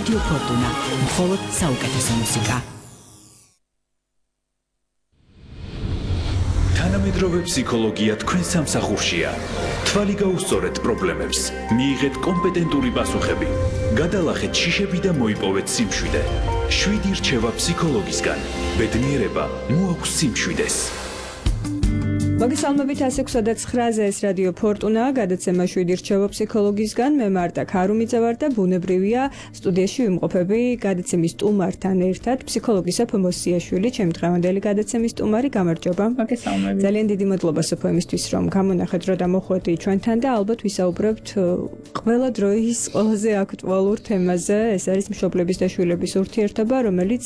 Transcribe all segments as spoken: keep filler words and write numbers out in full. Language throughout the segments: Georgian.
რადიო ფორტუნა, მხოლოდ საუკეთესო მუსიკა. თანამედროვე ფსიქოლოგია თქვენ სამსახურშია. თვალი გაუსწორეთ პრობლემებს, მიიღეთ კომპეტენტური პასუხები, გადალახეთ შიშები და მოიპოვეთ სიმშვიდე. შვიდი რჩევა ფსიქოლოგისგან. ბედნიერება მოაქვს სიმშვიდეს. მოგესალმებით one six nine ცხრაზე ეს რადიო ფორტუნა, გადაცემა შვიდი რჩევა ფსიქოლოგისგან. მე მართა ქარუმიძე ვარ და ბუნებრივია სტუდიაში ვიმყოფები გადაცემის სტუმართან ერთად, ფსიქოლოგი სოფო მოსიაშვილი, ჩემი დღევანდელი გადაცემის სტუმარი. გამარჯობა. მოგესალმებით. ძალიან დიდი მადლობა სოფო იმისთვის, რომ გამონახეთ რო დამოხვედი ჩვენთან და ალბათ ვისაუბრებთ ყველა დროის ყველაზე აქტუალურ თემაზე. ეს არის მშობლების და შვილების ურთიერთობა, რომელიც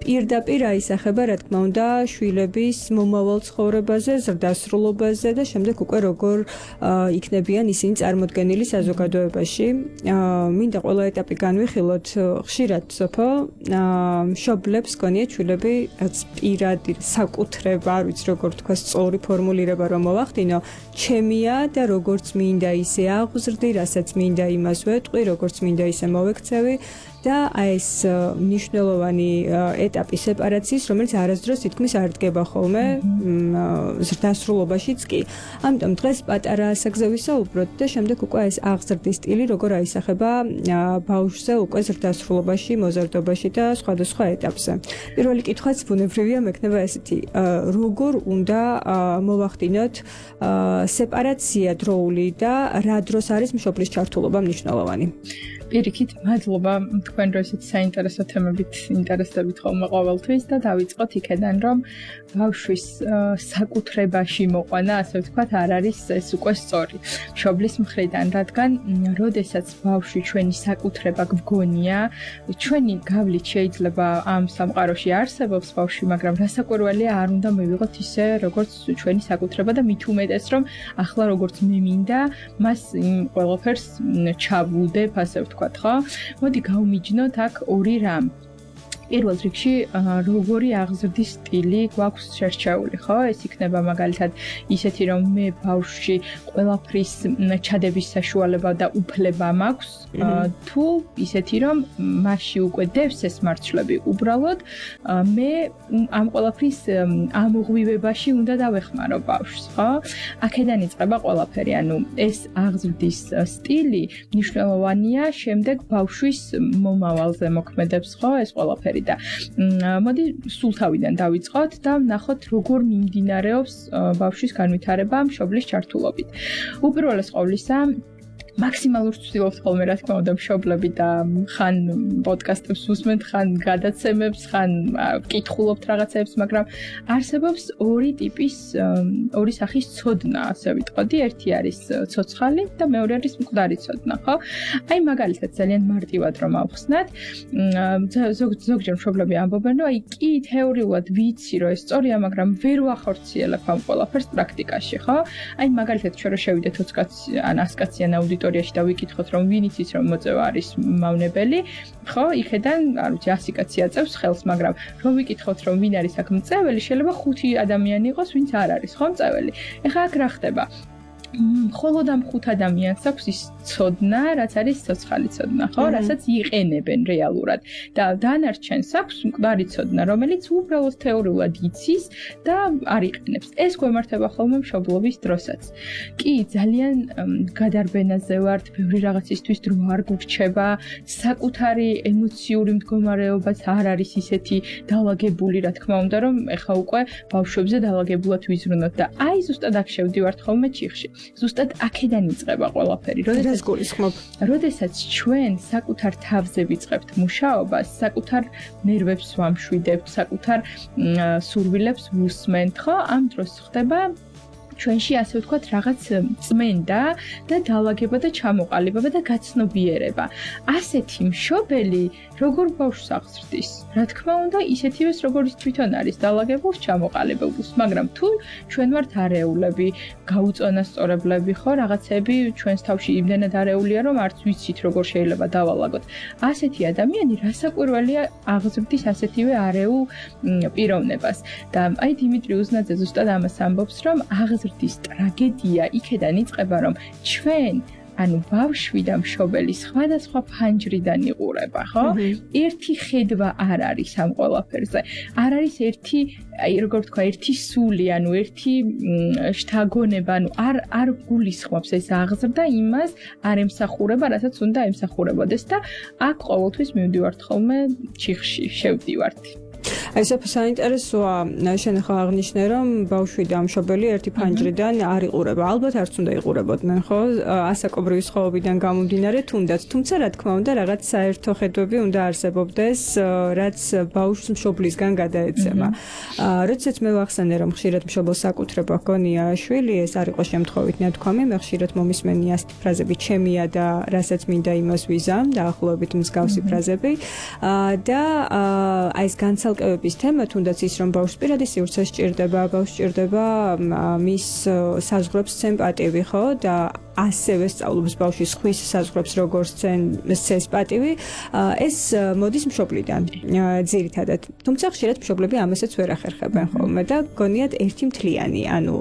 პირდაპირ აისახება, რა თქმა უნდა, შვილების მომავალ ცხოვრებაზე, ზრდასრულობაზე და შემდეგ უკვე როგორ იქნებიან ისინი წარმოდგენილი საზოგადოებაში. მინდა ყველა ეტაპი განვიხილოთ. ხშირად სოფო მშობლებს გონიათ შვილები რაც პირადი საკუთრება, არ ვიცი როგორ თქვა სწორი ფორმულირება რომ მოვახდინო, ჩემია და როგორც მინდა ისე აღზრდი, რასაც მინდა იმას ვეტყვი, როგორც მინდა ისე მოვექცევი. და ეს მნიშვნელოვანი ეტაპი სეპარაციის, რომელიც არასდროს თითქმის არ დგება ხოლმე ზრდასრულობაშიც კი. ამიტომ დღეს პატარა ასაკზე ვისაუბროთ და შემდეგ უკვე ეს აღზრდის სტილი როგორ აისახება ბავშვზე უკვე ზრდასრულობაში, მოზარდობაში და სხვადასხვა ეტაპზე. პირველი კითხვაც ბუნებრივია მექნება ესეთი, როგორ უნდა მოვახდინოთ სეპარაცია დროული და რა დროს არის მშობლის ჩართულობა მნიშვნელოვანი? პირიქით, მადლობა თქვენ რო ესეთი საინტერესო თემებით ინტერესდებით ხოლმე ყოველთვის და დავიწყოთ იქედან, რომ ბავშვის საკუთრებაში მოყვანა, ასე ვთქვათ, არ არის ეს უკვე სწორი მშობლის მხრიდან, რადგან როდესაც ბავშვი ჩვენი საკუთრება გვგონია, ჩვენი გავლით შეიძლება ამ სამყაროში არსებობს ბავშვი, მაგრამ რასაკვირველია არ უნდა მივიღოთ ისე, როგორც ჩვენი საკუთრება და მით უმეტეს, რომ ახლა როგორც მე მინდა, მას იმ ყველაფერს ჩავუდებ, ასე ვთქვათ. ხო? მოდი გავმიჯნოთ აქ ორი რამ. პირველ რიგში როგორი აღზრდის სტილი გვაქვს შერჩეული, ხო? ეს იქნება მაგალითად ისეთი, რომ მე ბავშვში ყველაფრის ჩადების საშუალება და უფლება მაქვს, თუ ისეთი, რომ მასში უკვე დევს ეს მარცვლები, უბრალოდ მე ამ ყველაფრის ამოღვივებაში უნდა დავეხმარო ბავშვს, ხო? აქედან იწყება ყველაფერი, ანუ ეს აღზრდის სტილი მნიშვნელოვანია შემდეგ ბავშვის მომავალზე მოქმედებს, ხო? ეს ყველაფერი და მოდი სულ თავიდან დავიწყოთ და ვნახოთ როგორ მიმდინარეობს ბავშვის განვითარება მშობლის ჩართულობით. უპირველეს ყოვლისა მაქსიმალურ ვცდილობთ ხოლმე რა თქმა უნდა მშობლები და ხან პოდკასტებს უსმენთ, ხან გადაცემებს, ხან ვკითხულობთ რაღაცებს, მაგრამ არსებობს ორი ტიპის, ორი სახის ცოდნა, ასე ვიტყოდი. ერთი არის ცოცხალი და მეორე არის მკვდარი ცოდნა, ხო? აი მაგალითად ძალიან მარტივად რომ ავხსნათ, ზოგჯერ მშობლები ამბობენ, რომ აი კი თეორიულად ვიცი, რომ ეს სწორია, მაგრამ ვერ ვახორციელებ ამ ყველაფერს პრაქტიკაში, ხო? აი მაგალითად ჩვენ რო შევიდეთ ოცი კაცი ან ას კაციან აუდიტორიაში და ვიკითხოთ, რომ ვინ იცის, რომ მოწევა არის მავნებელი, ხო? იქედან, არ ვიცი, ასი კაცი აწევს ხელს, მაგრამ რომ ვიკითხოთ, რომ ვინ არის აქ მწეველი, შეიძლება ხუთი ადამიანი იყოს, ვინც არ არის, ხო, მწეველი. ეხლა აქ რა ხდება? მხოლოდ ამ ხუთ ადამიანს აქვს ის ცოდნა, რაც არის ცოცხალი ცოდნა, ხო? რასაც იყენებენ რეალურად. და დანარჩენს აქვს მკვდარი ცოდნა, რომელიც უბრალოდ თეორიულად იცის და არ იყენებს. ეს გვემართება ხოლმე მშობლობის დროსაც. კი, ძალიან გადარბენაზე ვართ, ბევრი რაღაცისთვის დრო არ გურჩება, საკუთარი ემოციური მდგომარეობაც არ არის ისეთი დაალაგებული, რა თქმა უნდა, რომ ეხა უკვე ბავშვებზე დაალაგებულად ვიზრუნოთ და აი ზუსტად აქ შევდივართ ხოლმე ჩიხში. ზუსტად აქედან იწყება ყველაფერი. როდესაც გულისხმობ, როდესაც ჩვენ საკუთარ თავზე ვიწყებთ მუშაობას, საკუთარ ნერვებს ვამშვიდებთ, საკუთარ სურვილებს ვუსმენთ, ხო? ამ დროს ხდება ჩვენში ასე ვთქვათ რაღაც წმენდა და დაალაგება და ჩამოყალიბება და გაცნობიერება. ასეთი მშობელი როგორ ბავშვს აღზრდის? რა თქმა უნდა, ისეთივეს როგორიც თვითონ არის დაალაგებულს, ჩამოყალიბებულს, მაგრამ თუ ჩვენ ვართ არეულები, გაუწონასწორებლები, ხო, რაღაცები ჩვენს თავში იმდენადარეულია, რომ არც ვიცით როგორ შეიძლება დავალაგოთ. ასეთი ადამიანი რასაკვირველია აღზრდის ასეთივე არეულ პიროვნებას. და აი დიმიტრი უზნაძე ზუსტად ამას ამბობს, რომ აღზრდის ტრაგედია იქედან იწყება, რომ ჩვენ ანუ ბავშვი და მშობელი სხვადასხვა ფანჯრიდან იყურება, ხო? ერთი ხედვა არ არის ამ ყველაფერზე. არ არის ერთი, აი როგორ ვთქვა, ერთი სული, ანუ ერთი შთაგონება, ანუ არ არ გულისხმობს ეს აღზრდა იმას, არ ემსახურება, რასაც უნდა ემსახურებოდეს და აქ ყოველთვის მივდივართ ხოლმე ჩიხში, შევდივართ. აი სოფო საინტერესოა, შენ ახლა აღნიშნე, რომ ბავშვი და მშობელი ერთი ფანჯრიდან არ იყურება. ალბათ არც უნდა იყურებოდნენ, ხო? ასაკობრივი სხვაობიდან გამომდინარე, თუნდაც, თუმცა რა თქმა უნდა, რაღაც საერთო ხედვები უნდა არსებობდეს, რაც ბავშვს მშობლისგან გადაეცემა. როდესაც მე ვახსენე, რომ ხშირად მშობელს საკუთრება ჰგონია შვილი, ეს არ იყო შემთხვევით ნათქვამი, მე ხშირად მომისმენი ასეთი ფრაზები, ჩემია და რასაც მინდა იმას ვიზამ, დაახლოებით მსგავსი ფრაზები. და აი ეს განცალკევების თემა, თუნდაც ის, რომ ბავშვს პირადი სივრცე სჭირდება, ბავშვს სჭირდება მის საზღვრებს სემპატივი, ხო? და ასევე სწავლობს ბავშვის ხვის საზღვრებს როგორც სცემს პატივი, ეს მოდის მშობლიდან ძირითადად. თუმცა ხშირად მშობლები ამასაც ვერ ახერხებენ ხოლმე და გონიათ ერთი მთლიანი, ანუ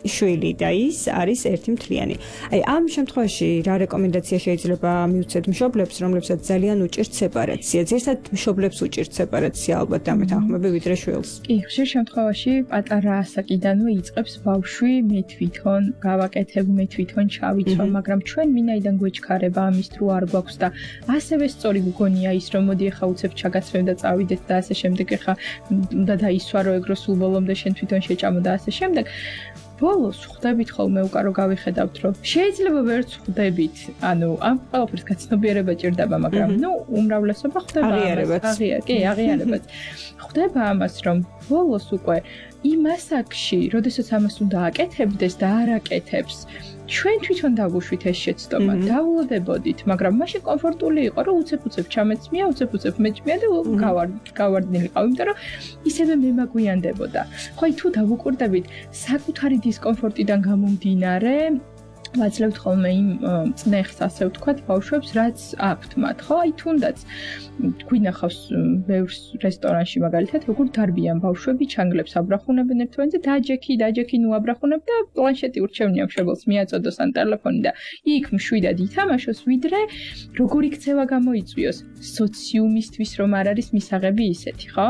შვილი და ის არის ერთი მთლიანი. აი ამ შემთხვევაში რა რეკომენდაცია შეიძლება მივცეთ მშობლებს, რომლებსაც ძალიან უჭირთ სეპარაცია? ზოგადად მშობლებს უჭირთ სეპარაცია ალბათ დამეთანხმები ვიდრე შვილს. კი, ხშირ შემთხვევაში პატარა ასაკიდანვე იწყებს ბავშვი მე თვითონ გავაკეთებ, მე თვითონ ჩავიცვა, მაგრამ ჩვენ მინაიდან გვეჩქარება ამის თუ არ გვაქვს და ასევე სწორი გგონია ის, რომ მოდი ახლა უცებ ჩაგაცვევ და წავიდეთ და ასე შემდეგ, ახლა უნდა დაისვარო ეგრო სულ ბოლომდე შენ თვითონ შეჭამო და ასე შემდეგ. ბოლოს ხვდებით ხოლმე უკარო გავიხედავთ, რომ შეიძლება ვერც ხვდებით, ანუ ამ ყველაფერს გაცნობიერება ჭირდება, მაგრამ ნუ უმრავლესობა ხვდება აღიარებაც. აღიარ, კი, აღიარებაც. ხვდება ამას, რომ ბოლოს უკვე იმ ასაკში, როდესაც ამას უნდა აკეთებდეს და არ აკეთებს, ჩვენ თვითონ დავუშვით ეს შეცდომა, დაულოდებოდით, მაგრამ მაშინ კომფორტული იყო, რომ უცებ-უცებ ჩამეცმია, უცებ-უცებ მეჭმია და გავარდნილი ყავ, იმიტომ რომ ისევე მე მაგვიანდებოდა. ხო, აი თუ დავუკვირდებით საკუთარი დისკომფორტიდან გამომდინარე, ვაძლევთ ხოლმე იმ წნეხს, ასე ვთქვათ, ბავშვებს, რაც აქვთ მათ, ხო? აი თუნდაც გვინახავს ბევრ რესტორანში მაგალითად, როგორ დარბიან ბავშვები, ჩანგლებს აბრახუნებენ ერთმანეთზე, დაჯექი, დაჯექი, ნუ აბრახუნებ და პლანშეტი ურჩევნია მშობელს, მიაწოდოს ან ტელეფონი და იქ მშვიდად ითამაშოს, ვიდრე როგორი ქცევა გამოიწვიოს სოციუმისთვის, რომ არ არის მისაღები ისეთი, ხო?